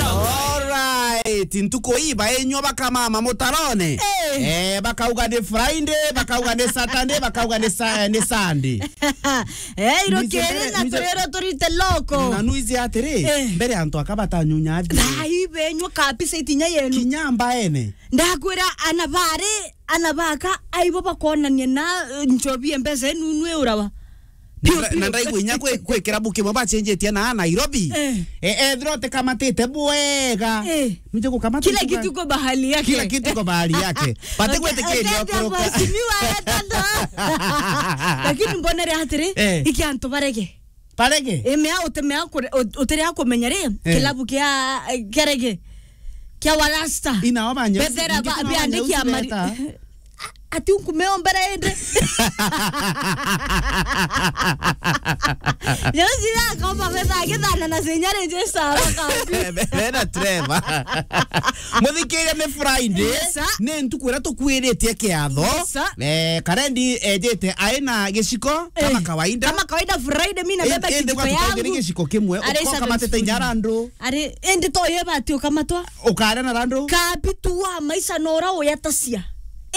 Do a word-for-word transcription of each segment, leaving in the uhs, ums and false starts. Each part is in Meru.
Alright, ntuku ii bainywa bakamama mutarone. Eh. Eh, bakauga ni Friday, bakauga ni Saturday, bakauga ni sa-, ni Sunday. Eh, irukiri na turiro turite loko. Na nuizi atiri, eh, mbere antu aka batanyunya athi. Thai benywa kabisa itinya yenu. Kinya mbaene. Ndakwira ana bari, ana baka, aibo bakonania na, eh, nchobi mpesa enu nwe urawa. Na, na ndaigua inya kwi, kwi kirabu kimwe bacenjetie na Nairobi. Eh. E, ethira utikamatite bwega. Eh. Nje gukamata kila kitu kwa bahali yake. Kila kitu kwa bahali yake. Bate gwetikiria okoroka. Mheshimiwa etano. Lakini mbonere atiri, eh, iki antu barege. Barege? E, mea utemea kure-, ut-, utiria kumenya ri, eh, kilabu kia, kia rege. Kia warasta. Ina wabanya. Bethera ba-, biandikia mari-, ati unkumeombera indi. Nyosi ya koma betha githana na senyare nje sawa kapi. Bena Trevor. Muthikiria ni Friday. Yes, sir. Ni ntuku iria tukwiritie kiatho. Yes, sir. Eh, karendi ejete aina giciko kama, eh, kawaida. Kama kawaida Friday, mina beba indi kijiko yangu. Giciko kimwe. Ari ukoka matete nyara andu. Ari, indi to ye bati ukamatwa. Ukare na randu. Kapi tu wa maisha nora uyatasia.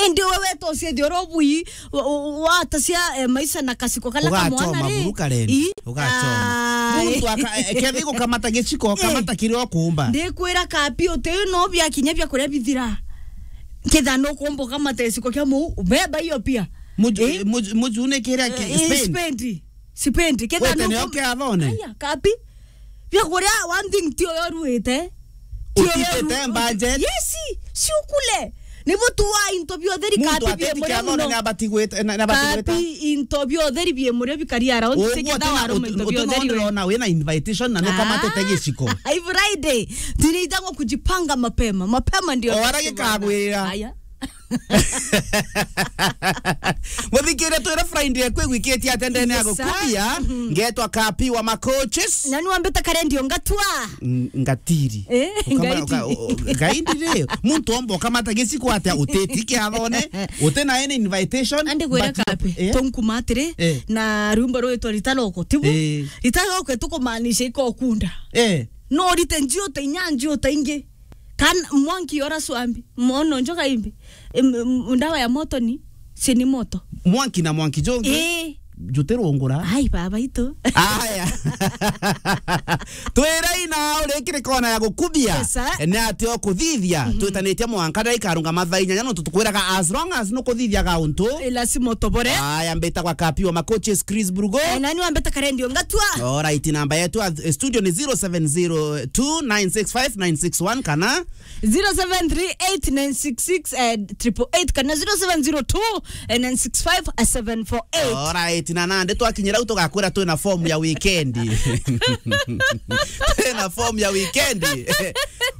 Indi we wetosie thioro bui, wa, wa, watasia, eh, maisha na kasiko kala kamwana ri. Ugachoma buru karendi. Ugachoma. Ai. Muntu aka-, e-, kethi gukamata giciko, eh, kamata kiria ukumba. Ndikwira kapi uti no bia kinya bia kuria bithira. Ketha no kumba ukamata giciko kia muu, beba iyo pia. Muju-, eh? Muju-, muju ni kiria ki-, eh, Spain. Spain. Sipendi. Ketha wete no nio kiathone. Aya, kapi. Bia kuria one thing ti uyo ruite. Ti uyo utitete ru-, budget. Yes, si ukule. Nibo tuwa into biotheri. Muntu kapi ateti bie muria kiathone muno. Ni abati gwite, na, na abati gwita. Kapi into biotheri bie muria bikari around. Uguo tena utu-, utu no ndirona wina invitation na nukamatete giciko. Ai Friday. Tunaitangwa kujipanga mapema. Mapema ndio. O ara gikagwira. Aya. Muthikiria twira Friday kwigwikitie atia ndene ya gukumia, ngetwa Kapi wa Macoaches. Na ni wambita karendio ngatua. Ng-, ngatiri. Eh, ukama-, ngaindi. Uka-, u-, u-, ngaindi ri, muntu omba ukamata giciko atia uteti kiathone, uti na any invitation. Andi gwira but Kapi, eh? Tunkuma atiri, eh, na rumba rwitwa Ritaroko, tibu? Eh. Ritaroko tukumaanisha ikokunda. Eh. No rite njiuta inya njiuta ingi. Kan mwanki ora swambi, mono njoka imbi. Em, em, ndawa ya moto ni, si ni moto. Mwanki na mwanki jongi. Eh. Jutirungura. Ai, baba itu. Aya. Twira ina urikire kona ya gukubia. Yes, sir. Ni ati okuthithia. Mhm. Twitanitie mwanka ndaikarunga mathaa inyanya, no tutukwiraga as long as nukuthithiaga untu. Eh, lazima utobore. Aya, mbitagwa Kapi wa Macoaches, Chris Brugo. Eh, nani wambeta karendio ngatua? Alright, namba yetu ya studio ni zero seven zero two nine six five nine six one kana zero seven three eight nine six six, eh, triple eight kana zero seven zero two nine six five seven four eight. Alright, na nandi twakinyira u tugakwira twina form ya weekend. Twina form ya weekend.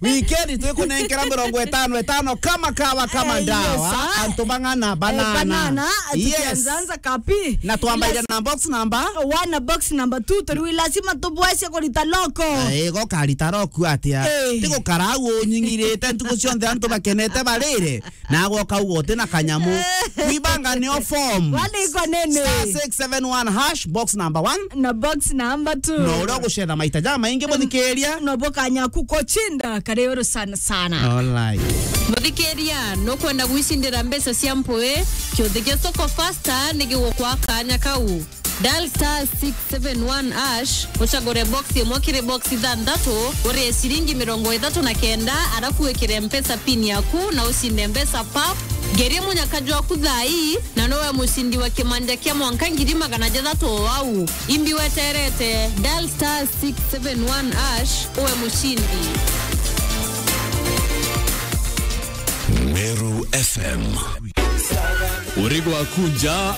Weekend twikunenkera mirongo itano itano kama kawa, kama ndawa. Eh, yes, sir. Antu bang'ana, eh, banana. Banana, yes. Tukianzanza Kapi. Na twambaire na box number. One, box number two, turi lazima tubwese kurita loko. Eh, go karita loko atia? Eh. Tigo karau unyingirite ntuku cionthe antu bakenete barire. Nago kauga uti na kanyamu. Kwibanga nio form. Wale iko nene. Star six seven one hash, box number one. Na box number two. No uria ugucetha maita jamaingi, mm, muthikiria. No bo kanya ku kuchinda kari uru sana sana. Alright. Muthikiria, nukwenda gwicindira mbeca cia mpui? Kiuthi gia Soko Fasta ni gigukwa kanya kau. Dial star six seven one hash, ucagure box imwe kiri box ithanthatu, urie ciringi mirongo ithatu na kenda, arafu wikire Mpesa pin yaku na ucinde mbeca pap. Ngerie munyaka jwaku thaa ii, na nowe mucindi wa kimanja kia mwanka ngiri magana jathatu o au. Imbi weterete, dial star six seven one hash, uwe mucindi. Meru F M. Urigwa kunja